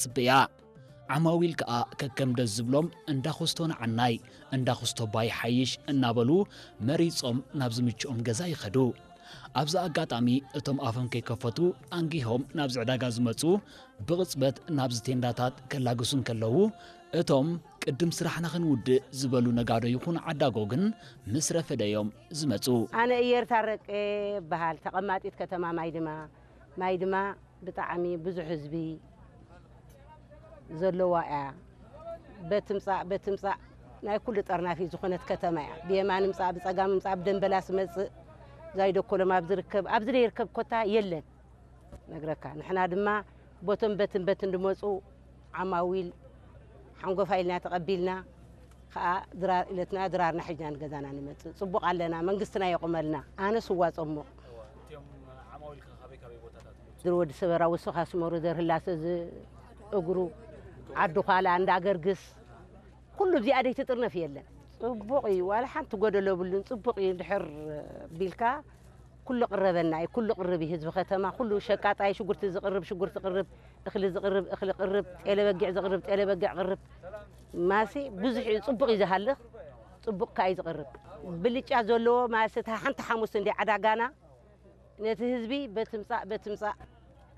ትጽበያ። ዓማዊል ከኣ ከከም ደስ ዝብሎም እንዳ ኮስቶ ንዓናይ፣ እንዳ ኮስቶ ባይ ሓይሽ እናበሉ መሪጾም ናብ ዝምችኦም ገዛ ይኸዱ። ኣብዚ ኣጋጣሚ እቶም ኣፎም ከይከፈቱ ኣንጊሆም ናብዚ ዕዳጋ ዝመጹ ብቕጽበት ናብዚ ቴንዳታት ከላግሱ እንከለዉ፣ እቶም ቅድም ስራሕና ክንውድእ ዝበሉ ነጋዶ ይኹን ዓዳጎ ግን ምስ ረፈደ እዮም ዝመጹ። ኣነ እየር ታረቀ እበሃል፣ ተቐማጢት ከተማ ማይድማ። ማይድማ ብጣዕሚ ብዙሕ ህዝቢ ዘለዋ እያ። በትምጻእ በትምጻእ ናይ ኩሉ ጠርናፊ ዝኾነት ከተማ እያ። ብየማን ምጻእ፣ ብጸጋም ምጻእ፣ ብደንበላስ መጽእ፣ ዛይዶ ኮሎም ኣብ ዝርከብ፣ ኣብዚ ዘይርከብ ኮታ የለን። ነግረካ። ንሕና ድማ ቦቶም በትን በትን ድመጹ ዓማዊል ሓንጎፋ ኢልና ተቐቢልና፣ ከኣ ድራር ኢለትና ድራርና ሒዝና ንገዛና ንመጽእ። ጽቡቕ ኣለና፣ መንግስትና የቑመልና። ኣነ ስዋ ጸሙቕ። እቲኦም ዓማዊል ከ ካበይ ካበይ ቦታታት ይመጹ? ድር ወዲ ሰበራ፣ ወሶኻ፣ ስመሩ፣ ደር ህላሰ፣ ዝ-፣ እግሩ፣ ዓዲ ዃላ፣ እንዳ ገርግስ፣ ኩሉ ኣብዚኣ ደይትጥርነፍ የለን። ጽቡቕ እዩ፣ ዋላ ሓንቲ ጎደሎ የብሉን። ጽቡቕ እዩ፣ እንድሕር ቢልካ ኩሉ ቅረበና እዩ፣ ኩሉ ቅርብ እዩ። ህዝቢ ከተማ ኩሉ ሸቃጣይ ሽጉርቲ ዝቕርብ ሽጉርቲ ቅርብ፣ እኽሊ ዝቕርብ እኽሊ ቅርብ፣ ጤለ በጊዕ ዝቕርብ ጤለ በጊዕ ቅርብ። ማሲ ብዙሕ እዩ፣ ጽቡቕ እዩ ዝሃልኽ፣ ጽቡቕ ከኣ እዩ ዝቕርብ። ብልጫ ዘለዎ ማሲ እታ ሓንቲ ሓሙስ እንዲ ዕዳጋና ነቲ ህዝቢ በትምጻእ በትምጻእ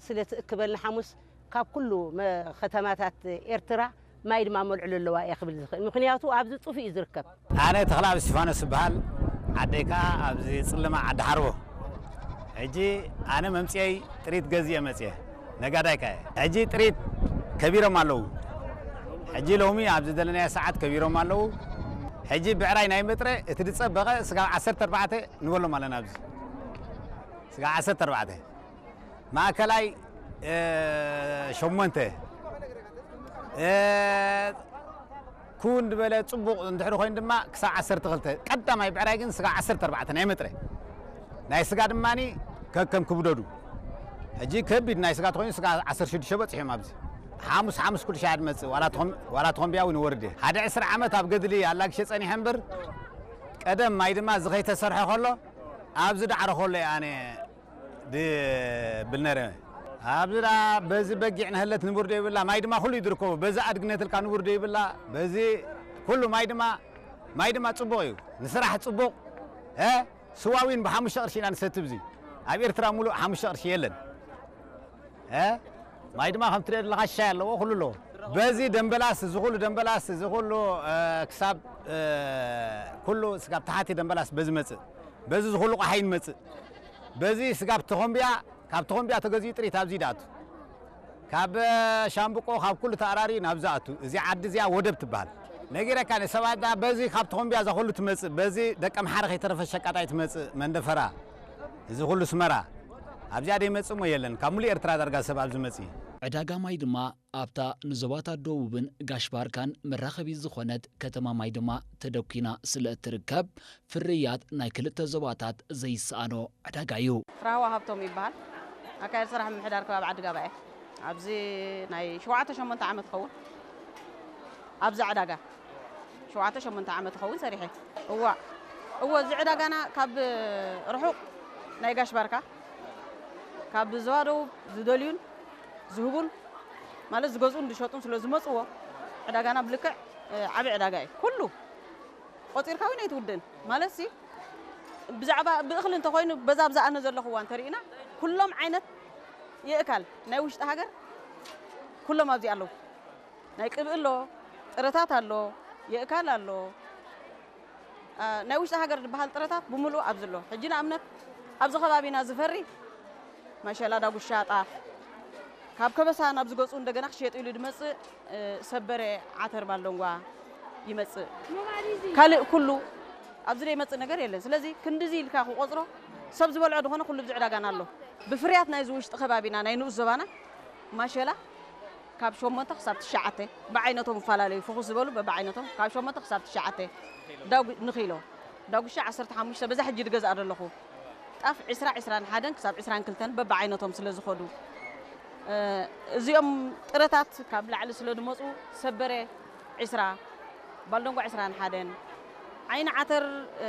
ስለ ትእክበልና ሓሙስ ካብ ኩሉ መ-፣ ከተማታት ኤርትራ ማይ ድማ መልዕሎ ኣለዋ እየ ክብል ዝኽእል። ምኽንያቱ ኣብዚ ጽፉእ እዩ ዝርከብ። ኣነ ተኽለኣብ እስቲፋኖስ እበሃል። ዓደይ ከኣ ኣብዚ ጽልማ ዓዲ ሓርቦ። ሕጂ ኣነ መምጽኤይ ጥሪት ገዚኤ መጽኤ። ነጋዳይ ከኣ እየ። ሕጂ ጥሪት ከቢሮም ኣለዉ። ሕጂ ሎሚ ኣብዚ ዘለናዮ ሰዓት ከቢሮም ኣለዉ። ሕጂ ብዕራይ ናይ መጥረ እቲ ዝጸበቐ ስጋብ ዓሰርተ ኣርባዕተ ንበሎም ኣለና ኣብዚ። ስጋብ ዓሰርተ ኣርባዕተ። ማእከላይ፣ እ፣ ሸሞንተ። እ፣ ኩን ዝበለ ጽቡቕ እንድሕሪ ኮይኑ ድማ ክሳብ ዓሰርተ ክልተ። ቀዳማይ ብዕራይ ግን ስጋብ ዓሰርተ ኣርባዕተ ናይ መጥረ። ናይ ስጋ ድማኒ ከከም ክብደዱ። ሕጂ ከቢድ ናይ ስጋ ተኾይኑ ስጋ ዓሰርተ ሽዱሽተ በጺሑ እዮም ኣብዚ። ሓሙስ፣ ሓሙስ ኩሉ ሻዕ ድመጽእ፣ ዋላ ተኾም-፣ ዋላ ተኾምብያ እውን ይወርድ እየ። ሓደ ዕስራ ዓመት ኣብ ገድሊ ኣላግሸ ጸኒሐ እምበር፣ ቀደም ማይ ድማ እዚ ከይተሰርሐ ከሎ፣ ኣብዚ ዳዕሮ ከሎ እየ ኣነ ድብል ነረ። ኣብዚ ደኣ በዚ በጊዕ ንህለት ንቡር ዶ ይብላ፣ ማይ ድማ ኩሉ እዩ ዝርከቦ። በዚ ኣድግነት ኢልካ ንቡር ዶ ይብላ፣ በዚ ኩሉ ማይ ድማ፣ ማይ ድማ ጽቡቕ እዩ። ንስራሕ ጽቡቕ፣ እ፣ ስዋ ዊን ብሓሙሽተ ቅርሺ ኢና ንሰቲ። ብዚ ኣብ ኤርትራ ሙሉእ ሓሙሽተ ቅርሺ የለን። እ፣ ማይ ድማ ከም ትሪኦ ዘለኻ ሻይ ኣለዎ፣ ኩሉ ኣለዎ። በዚ ደምበላስ፣ እዚ ኩሉ ደምበላስ፣ እዚ ኩሉ፣ እ፣ ክሳብ፣ እ፣ ኩሉ ስጋብ ታሕቲ ደምበላስ በዚ መጽእ። በዚ ዝኹሉ ቋሓይን መጽእ። በዚ ስጋብ ተኾምብያ፣ ካብ ተኾምብያ ተገዚኡ ጥሪት ኣብዚ ይድኣቱ። ካብ ሻምብቆ፣ ካብ ኩሉ ተኣራሪ ናብዚ ኣቱ። እዚ ዓዲ እዚኣ ወደብ ትበሃል። ነጊረካ ንሰባት ዳ በዚ ካብ ተኾምብያ እዛ ኩሉ ትመጽእ፣ በዚ ደቀ ምሓረ ከይተረፈ ሸቃጣይ ትመጽእ፣ መንደፈራ፣ እዚ ኩሉ ስመራ። ኣብዚኣ ደይመጽእ እሞ የለን። ካብ ሙሉእ ኤርትራ ዳርጋ ሰብ ኣብዚ መጽእ። ዕዳጋ ማይ ድማ ኣብታ ንዞባታት ደቡብን ጋሽ ባርካን መራኸቢ ዝኾነት ከተማ ማይ ድማ ተደኲና ስለ እትርከብ፣ ፍርያት ናይ ክልተ ዞባታት ዘይሰኣኖ ዕዳጋ እዩ። ፍራህዋ ሃብቶም ይበሃል። ኣካየዲ ስራሕ ምምሕዳር ከባቢ ዓዲ ጋባ እየ። ኣብዚ ናይ ሸውዓተ ሸሞንተ ዓመት ኸውን ኣብዚ ዕዳጋ፣ ሸውዓተ ሸሞንተ ዓመት ኸውን ሰሪሐ። እዋ፣ እዎ፣ እዚ ዕዳጋና ካብ ርሑቕ ናይ ጋሽ ባርካ፣ ካብ ዞባ ደቡብ ዝደልዩን ዝህቡን፣ ማለት ዝገዝኡን ዝሸጡን ስለ ዝመጽዎ፣ ዕዳጋና ብልክዕ፣ እ፣ ዓቢ ዕዳጋ እዩ። ኩሉ ቆጺርካ እውን ኣይትውድእን። ማለት ሲ፣ ብዛዕባ ብእኽሊ እንተኾይኑ፣ በዛ ኣብዛ ኣነ ዘለኹዋ እንተርኢና፣ ኩሎም ዓይነት የእካል ናይ ውሽጢ ሃገር ኩሎም ኣብዚ ኣለዉ። ናይ ቅብኢ ኣሎ፣ ጥረታት ኣሎ፣ የእካል ኣሎ። አ፣ ናይ ውሽጢ ሃገር ዝበሃል ጥረታት ብምሉኡ ኣብዚ ኣሎ። ሕጂ ንኣብነት ኣብዚ ከባቢና ዝፈሪ ማሸላ፣ ዳጉሻ፣ ጣፍ ካብ ከበሳ ናብ ዝገጹ እንደገና ክሸየጥ ኢሉ ዝመጽእ፣ እ፣ ሰበረ፣ ዓተር፣ ባልደንጓ ይመጽእ። ካልእ ኩሉ ኣብዚ ዘይመጽእ ነገር የለን። ስለዚ ክንድዚ ኢልካ ክቆጽሮ ሰብ ዝበልዖ ዝኾነ ኩሉ ኣብዚ ዕዳጋና ኣሎ። ብፍርያት ናይዚ ውሽጢ ከባቢና ናይ ንኡስ ዞባና ማሸላ ካብ ሸሞንተ ክሳብ ትሽዓተ ብዓይነቶም ይፈላለዩ። ፍኹስ ዝበሉ በብዓይነቶም ካብ ሸሞንተ ክሳብ ትሽዓተ ዳጉ-፣ ንኪሎ። ዳጉሻ ዓሰርተ ሓሙሽተ በዛ ሕጂ ዝገዝኣ ዘለኹ። ጣፍ ዕስራ፣ ዕስራን ሓደን ክሳብ ዕስራን ክልተን በብዓይነቶም ስለ ዝኸዱ፣ እ፣ እዚኦም ጥረታት ካብ ላዕሊ ስለ ዝመጹ ሰበረ ዕስራ፣ ባልደንጓ ዕስራን ሓደን፣ ዓይኒ ዓተር፣ እ፣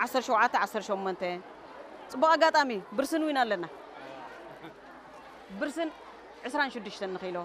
ዓሰርተ ሸውዓተ፣ ዓሰርተ ሸሞንተ። ጽቡቕ ኣጋጣሚ ብርስን ዊን ኣለና። ብርስን ዕስራን ሽዱሽተን ንኪሎ።